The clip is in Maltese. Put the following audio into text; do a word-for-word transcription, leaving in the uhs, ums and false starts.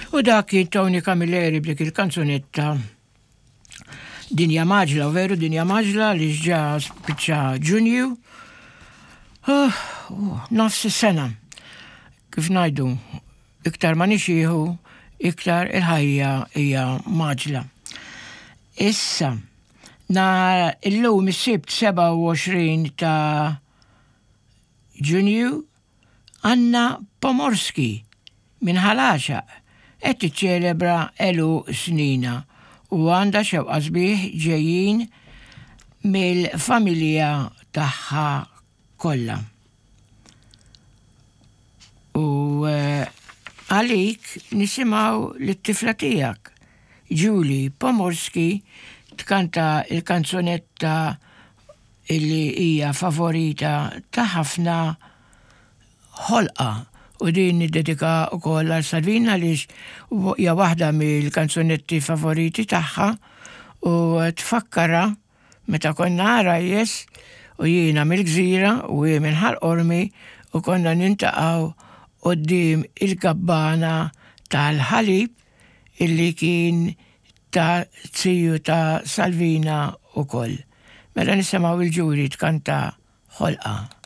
U dak kien Tony Camilleri b'dik il-kanzunetta Dinja Mgħaġġla, u veru dinja mgħaġġla li ġa spiċċa Ġunju. Uh, nofs is-sena. Kif ngħidu, iktar ma nixjieħu, iktar il-ħajja hija mgħaġġla. Issa, na illum is-Sibt sebgħa u għoxrin ta' Ġunju, Anna Pomorski minn Ħal Għaxaq qed tiċċelebra għeluq sninha u għandha xewqa sbieħ ġejjin mill-familja tagħha kollha. U eh, għalik nisimgħu lit-tifla tiegħek, Julie Pomorski, tkanta il-kanzunetta illi hija favorita ta' ħafna, Ħolqa, u din niddedika wkoll għal Salvina għaliex hija waħda mill-kanzunetti favoriti tagħha u tfakkarha meta konna għarajjes u jiena mill-Gżira u hi minn Ħal Qormi u konna niltaqgħu quddiem il-kabbana tal-ħalib illi kien ta' ziju ta' Salvina wkoll. Mela nisimgħu lil Julie tkanta Ħolqa.